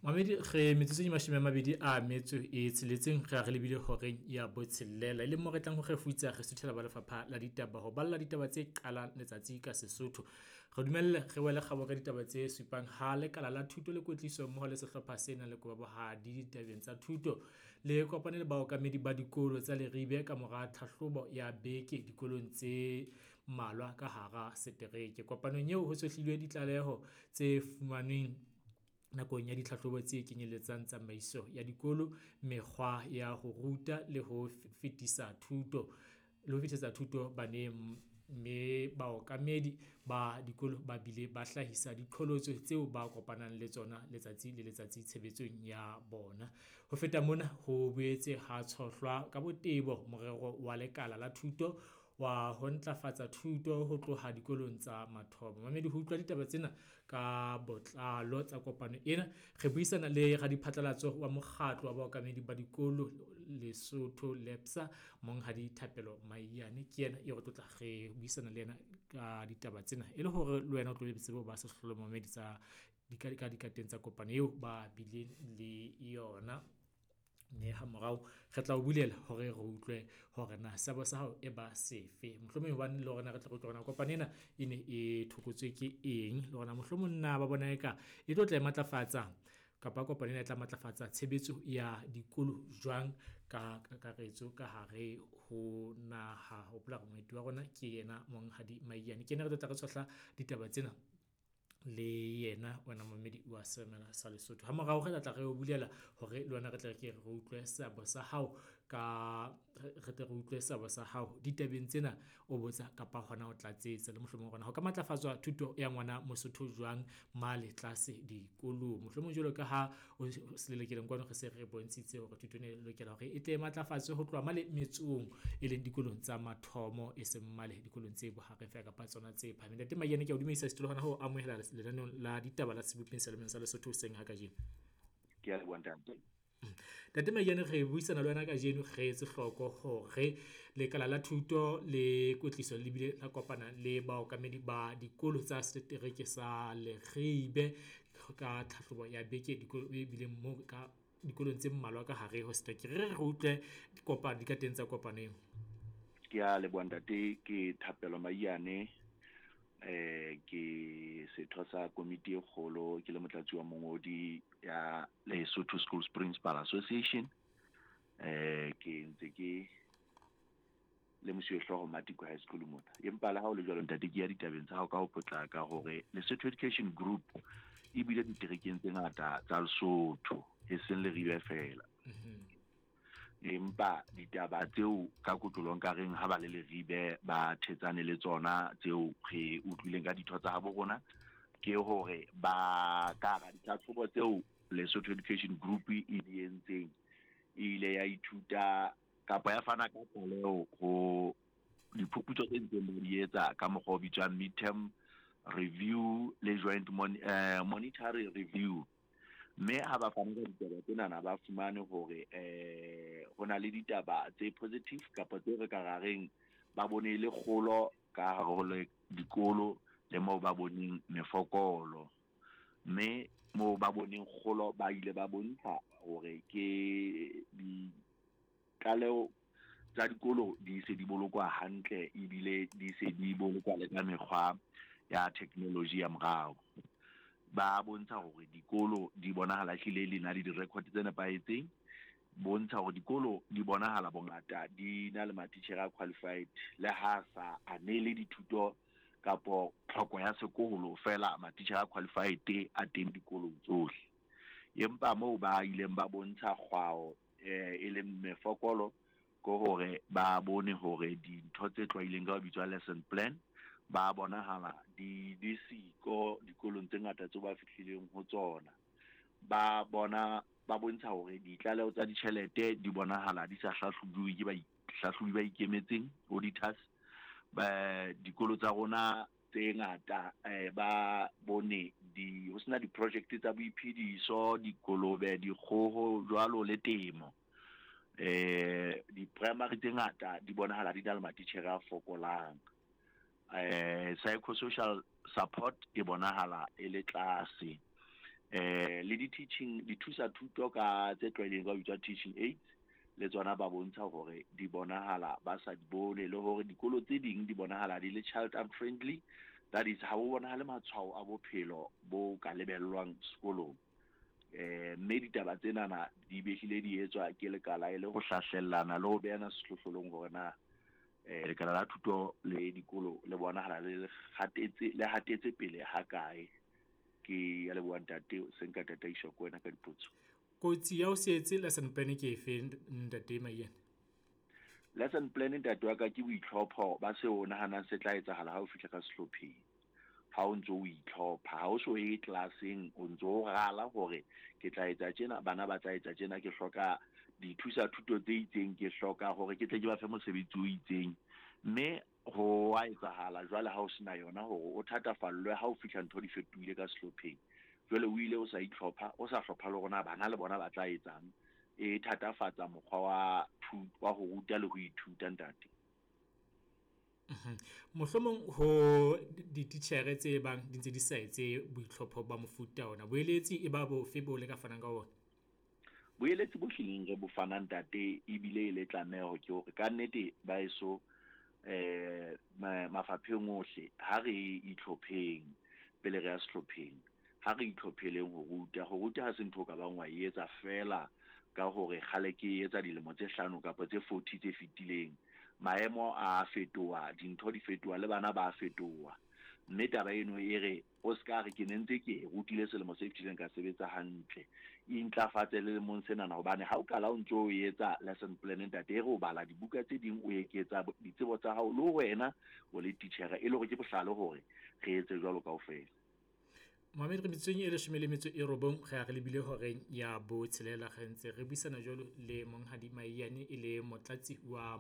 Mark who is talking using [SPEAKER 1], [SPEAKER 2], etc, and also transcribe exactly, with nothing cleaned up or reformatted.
[SPEAKER 1] Mamedi re metsotso e mashome a mabedi a metso e tsheletseng re a re lebile horeng ya botshelela, e leng mo re tlang ho kgefutsa re suthela ba lefapha la ditaba ho balla ditaba tse qalang letsatsi ka Sesotho. Re dumelle re wele kgabo ka ditaba tse supang ha lekala la thuto le kwetliso mmoho le sehlopha se nang le kobohadi ditabeng tsa thuto le kopane le baokamedi ba dikolo tsa Leribe ka mora tlhahlobo ya beke dikolong tse mmalwa ka hara setereke. Kopanong eo ho tshohlilwe ditlaleho tse fumanweng nakong ya ditlhahlobo tse kenyeletsang tsamaiso ya dikolo, mekgwa ya ho ruta le ho fetisa thuto le ho fetisetsa thuto baneng, mme baokamedi ba dikolo ba bile ba hlahisa diqholotso tseo ba kopanang le tsona letsatsi le letsatsi tshebetsong ya bona. Ho feta mona, ho boetse ha tshohlwa ka botebo morero wa lekala la thuto wa ho ntlafatsa thuto ho tloha dikolong tsa mathomo. Mamedi, ho utlwa ditaba tsena ka botlalo tsa kopano ena, re buisana le radiphatlalatso wa mokgatlo wa baokamedi ba dikolo Lesotho LEPSA, Monghadi Thapelo Maiyane. Ke yena eo re tlotla re buisana le yena ka ditaba tsena e le hore le wena o tlo be tsebe ho ba sehlohlolong mamedi tsa ka dikateng tsa kopano eo ba bileng le yona. Mme ha morao re tla o bulela hore re utlwe hore na seabo sa hao e ba sefe. Mohlomong hobane le rona re tle re utlwe hore na kopano ena e ne e thokotswe ke eng, le hore na mohlomong na ba bona eka e tlo tla e matlafatsa kapa kopano ena e tla matlafatsa tshebetso ya dikolo jwang ka kakaretso ka hare ho naha. Hopola hore moeti wa rona ke yena Monghadi Maiyane, ke yena re tlo tla re tshohla ditaba tsena le yena wena momamedi wa semela sa Lesotho. Ha morao re tla tla re o bulela hore le wena re tle re ke re utlwe seabo sa hao ka re tle re utlwe seabo sa hao ditabeng tsena, o botsa kapa hona o tlatsetsa le mohlomong hore na ho ka matlafatswa thuto ya ngwana Mosotho jwang male tlase dikolong. Mohlomong jwalo ka ha o selelekeleng kwano re se re bontshitse hore thuto ena e lokela hore e tle e matlafatswe ho tloha male metsong, e leng dikolong tsa mathomo, e seng male dikolong tse bohareng feela kapa tsona tse phahameng. Ntate Maiyane, ke a o dumedisa setulo hona ho amohela lenaneong la ditaba la Sebopeng Seyalemoyeng sa Lesotho hoseng ha kajeno.
[SPEAKER 2] Ke a leboha ntate.
[SPEAKER 1] Ntate Maiyane, re buisana le wena kajeno re etse hloko hore lekala la thuto le kwetliso le bile la kopana le baokamedi ba dikolo tsa setereke sa Leribe ka tlhahlobo ya beke dikolo e bileng moo ka dikolong tse mmalwa ka hare ho setereke. Re re re utlwe kopano dikateng tsa kopano eo.
[SPEAKER 2] Ke a leboha ntate, ke Thapelo Maiyane. Eh, ke setho sa komiti e kgolo, ke le motlatsi wa mongodi ya Lesotho Schools Principal Association. Eh, ke ntse ke le mosuwehlooho Matiko High School mona. Empa le ha ho le jwalo ntate, ke ya ditabeng tsa hao ka ho potlaka hore Lesotho Education Group e bile diterekeng tse ngata tsa Lesotho, e seng Leribe feela.
[SPEAKER 1] Mm-hmm.
[SPEAKER 2] Empa ditaba tseo ka kotlolong ka reng ha ba le Leribe ba thetsane le tsona tseo re utlwileng ka ditho tsa habo rona, ke hore ba ka hara ditlhatlhobo tseo Lesotho Education Group e di entseng, e ile ya ithuta kapa ya fana ka tlaleho ho diphuputso tse ntseng ba di etsa ka mokgwa o bitswang midterm review le joint mon-, eh, monetary review. Mme ha ba fana ka ditaba tsenana ba fumane hore, eh, ho na le ditaba tse positive kapa tse re ka ra reng ba bone le kgolo ka hare ho le dikolo le moo ba boneng mefokolo. Mme moo ba boneng kgolo ba ile ba bontsha hore ke ditlaleho tsa dikolo di se di bolokwa hantle ebile di se di bolokwa le ka mekgwa ya technology ya morao. Ba bontsha hore dikolo di bonahala ehlile le na le di-record tse nepahetseng, bontsha hore dikolo di bonahala bongata di na le matitjhere a qualified le ha sa anele dithuto kapo tlhoko ya sekolo fela matitjhere a qualified a teng dikolong tsohle. Empa moo ba ileng ba bontsha kgwao, eh, e leng mefokolo, ke hore ba bone hore dintho tse tlwaileng ka ho bitswa lesson plan ba bonahala di, di siko dikolong tse ngata tseo ba fihlileng ho tsona. Ba bona, ba bontsha hore ditlaleho tsa ditjhelete di bonahala di sa hlahlobuwe ke bahlahlobi ba ikemetseng, auditors. Ba, dikolo tsa rona tse ngata, eh, ba bone di, ho sena di-project tsa boiphediso, dikolobe, dikgoho jwalo le temo. Eh, di-primary tse ngata di bonahala di na le matitjhere a fokolang. Eh, psychosocial support e bonahala e le tlase. Eh le di-teaching dithusa thuto ka tse tlwaelehileng ka ho bitswa teaching aids, le tsona ba bontsha hore di bonahala ba sa di bone, le hore dikolo tse ding di bonahala di le child unfriendly, that is ha ho bonahale matshwao a bophelo bo ka lebellwang sekolong. Eh mme ditaba tsenana di behlile di etswa ke lekala e le ho hlahlellana le ho behana sehlohlolong hore na eh lekala la thuto le dikolo le bonahala le hatetse le hatetse pele ha kae. Ke ya leboha ntate, se nka tataiswa ke wena ka dipotso.
[SPEAKER 1] Kotsi ya ho se etse lesson plan ke efe, ntate Maiyane?
[SPEAKER 2] Lesson plan, ntate wa ka, ke boitlhopho ba seo o nahanang se tla etsahala ha o fihla ka sehlopheng. Ha o ntso o itlhopha, ha o so ye classeng, o ntso o rala hore ke tla etsa tjena, bana ba tla etsa tjena, ke hloka dithusa thuto tse itseng, ke hloka hore ke tle ke ba fe mosebetsi o itseng. Mme ho a etsahala jwale ha o sena yona hore o thatafallwe ha o fihla ntho di fetohile ka sehlopheng. Jwale o ile o sa itlhopha, o sa hlopha le hore na bana le bona ba tla etsang. E thatafatsa mokgwa wa wa ho ruta le ho ithuta, ntate.
[SPEAKER 1] Mohlomong ho dititjhere tse bang di ntse di sa etse boitlhopho ba mofuta ona, boeletsi e ba bofe bo le ka fanang ka ona?
[SPEAKER 2] Boeletsi bo hlileng re bo fanang, ntate, ebile e le tlameho ke hore ka nnete ba eso eh mafapheng ohle ha re itlhopheng pele re ya sehlopheng, ha re itlhopheleng ho ruta. Ho ruta ha se ntho o ka bang wa e etsa feela ka hore kgale ke etsa dilemo tse hlano kapa tse forty tse fetileng. Maemo a fetoha, dintho di fetoha, le bana ba fetoha. Mme taba eno e re o ska re ke ne ntse ke rutile selemo se fetileng ka sebetsa hantle, intlafatse le lemong senana, hobane ha o qala o ntso o etsa lesson plan, ntate, e re o bala dibuka tse ding, o eketsa ditsebo tsa hao le wena o le titjhere, e le hore ke bohlale hore re etse jwalo kaofela.
[SPEAKER 1] Mohamed, re metsotsong e leshome le metso e robong re ya re lebile horeng ya botshelela, re ntse re buisana jwalo le Monghadi Maiyane e le motlatsi wa